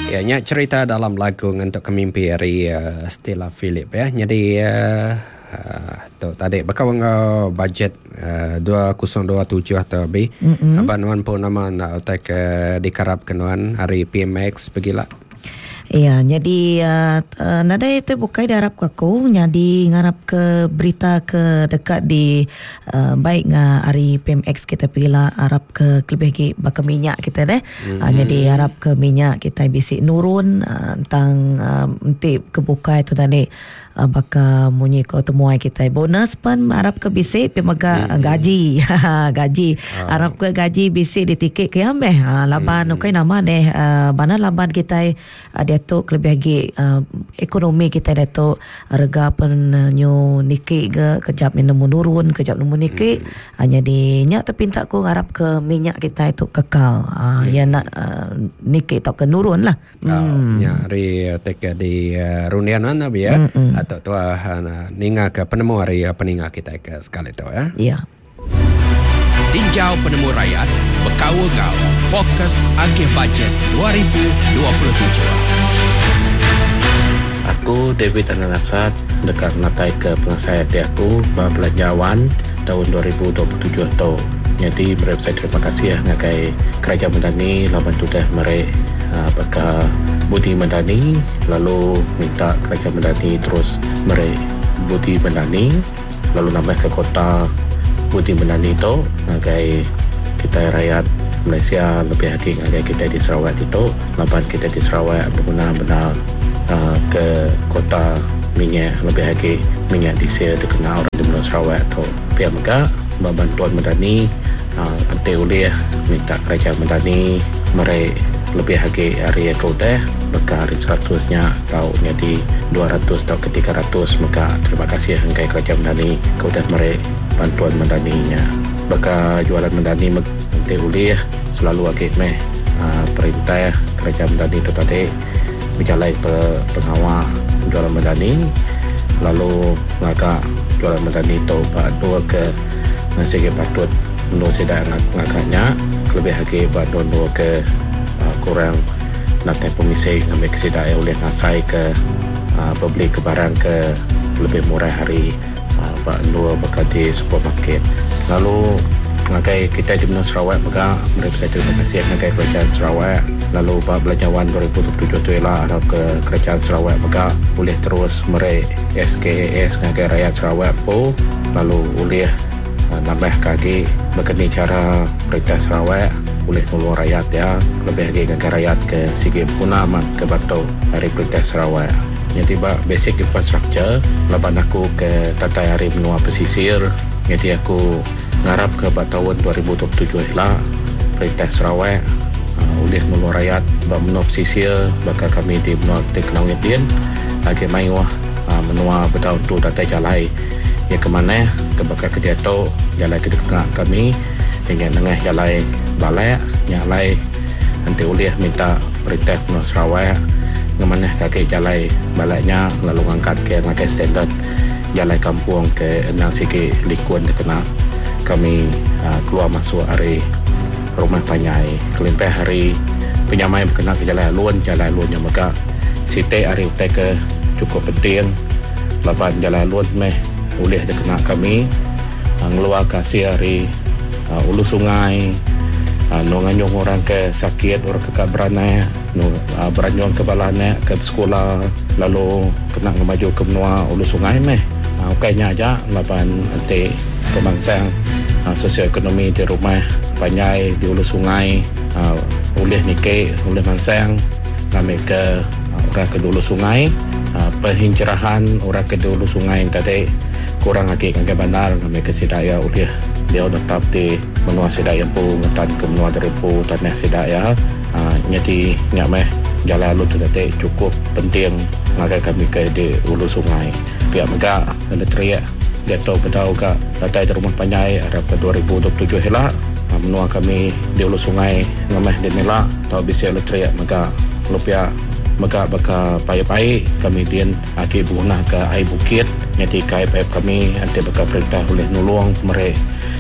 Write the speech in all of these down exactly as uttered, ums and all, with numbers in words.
Ya, nya cerita dalam lagu ngentuk ke mimpi ari uh, Stella Philip ya. Jadi uh, uh, tu tadi bakal ngau budget uh, dua ribu dua puluh tujuh atau lebih. Mm-hmm. Abang nuan pun nama nak utai ke dikarap ke nuan hari P M X pergilah. Ya, jadi uh, uh, nadai tu bukai diharap ke aku, jadi ngarap ke berita ke dekat di uh, baik nga hari P M X kita pergilah harap ke lebih lagi bakal minyak kita deh. Mm-hmm. Uh, jadi harap ke minyak kita bisi nurun uh, tentang uh, enti ke bukai tu tadi uh, bakal munyi ko temuai kita bonus pun harap ke bisi pi mega mm-hmm. gaji gaji oh. Harap ke gaji bisi di tiket ke ameh uh, laban mm-hmm. ukai nama deh uh, bana laban kita uh, dia tu lebih lagi uh, ekonomi kita dia tu rega pen uh, nyu niki ke kejap ni nemu nurun kejap nemu niki mm. Hanya di nyak terpinta ku harap ke minyak kita itu kekal uh, mm. Ya nak uh, niki atau ke nurun lah. Mm. Uh, nya hari tek di uh, rundian mana biar mm-hmm. atau tua uh, ninga ke penemu hari uh, peninga kita ke sekali tu ya. Ya. Tinjau penemu rakyat berkau ngau fokus agih bajet dua ribu dua puluh tujuh. Aku David Ananasat dekat natai ke pengasai hati aku belanjawan tahun dua ribu dua puluh tujuh tu. Jadi mereka saya terima kasih ya ngagai Kerajaan Madani laban tudah mereka uh, baka Budi Madani lalu minta Kerajaan Madani terus mereka Budi Madani lalu nambah ke kota Budi Madani tu ngagai kita rakyat Malaysia lebih lagi ngagai kita di Sarawak itu laban kita di Sarawak berguna-guna uh, ke kota minyak lebih lagi minyak diesel terkenal orang di Pulau Sarawak tu. Pihak mega bantuan Madani uh, anti ulih minta Kerajaan Madani merek lebih lagi hari yang udah bekal hari seratusnya atau jadi dua ratus atau ke tiga ratus maka terima kasih hanggai Kerajaan Madani ke udah merek bantuan Madaninya. Bakal jualan Madani nanti ulih selalu lagi meh uh, perintah Kerajaan Madani tu tadi berjalan pe pengawal jualan Madani lalu ngagak jualan Madani tu pak dua ke nasi ke patut no sedak ngagaknya lebih lagi pak dua dua ke uh, kurang nanti pemisi ngambil kesedak oleh ngasai ke uh, beli ke barang ke lebih murah hari uh, pak dua bakal di supermarket. Lalu ngagai kita di Menua Sarawak mega mereka saya terima kasih ngagai Kerajaan Sarawak lalu bab belanjawan dua ribu dua puluh tujuh tu ialah harap ke Kerajaan Sarawak mega boleh terus merek S K A S ngagai rakyat Sarawak po lalu boleh uh, nambah kagi berkeni cara perintah Sarawak boleh tolong rakyat ya lebih lagi ngagai rakyat ke sigi guna amat ke bantu hari perintah Sarawak. Jadi bab basic infrastructure laban aku ke tatai hari menua pesisir jadi aku ngarap ke bab tahun dua ribu dua puluh tujuh lah perintah Sarawak uh, oleh menua rakyat bab menua pesisir bakal kami di menua di Kelangit din lagi mayuh uh, menua bertahun tu datai jalai ya ke mana ke bakal ke dia tu jalai ke kena kami hingga nengah jalai balai nyalai nanti oleh minta perintah menua Sarawak ngemanah kaki jalai balainya lalu angkat ke ngakai standard jalai kampung ke enang sikit likun kena kami uh, keluar masuk hari rumah panjai kelimpah hari penyamai berkena ke jalan alun jalan alun yang mega sitik hari utai ke cukup penting laban jalan alun meh boleh dikena kami uh, ngeluar kasih hari uh, ulu sungai uh, nonganyong orang ke sakit orang ke beranak nu uh, beranyong ke balana ke sekolah lalu kena ngemaju ke menua ulu sungai meh uh, ukainya aja laban nanti pemangsang uh, sosioekonomi di rumah panjai di ulu sungai uh, ulih nike ulih mangsang kami ke uh, orang ke dulu sungai uh, penghijrahan orang ke dulu sungai tadi kurang lagi ke bandar kami ke sidaya ulih dia tetap di menua sidaya pu ngetan ke menua dari pu tanah sidaya uh, nyati nyak meh jalan alun tu tadi cukup penting ngagai kami ke di ulu sungai pihak mega ada teriak dia tahu bedau ke datai di rumah panjai harap ke dua ribu dua puluh tujuh helak menua kami di ulu sungai ngameh di nila tau bisi elektrik mega lupia mega baka pai-pai kami din aki bunah ke air bukit nyati kai pipe kami anti baka perintah oleh nulung mere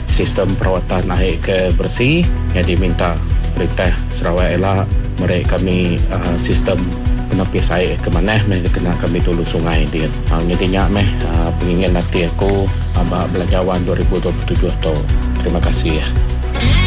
sistem perawatan air ke bersih jadi minta perintah Sarawak elak Mereka kami uh, sistem penapis air ke mana meh kena kami tulu sungai dia. Uh, jadi nyak meh uh, pengingin hati aku uh, belanjawan dua ribu dua puluh tujuh tu. Terima kasih.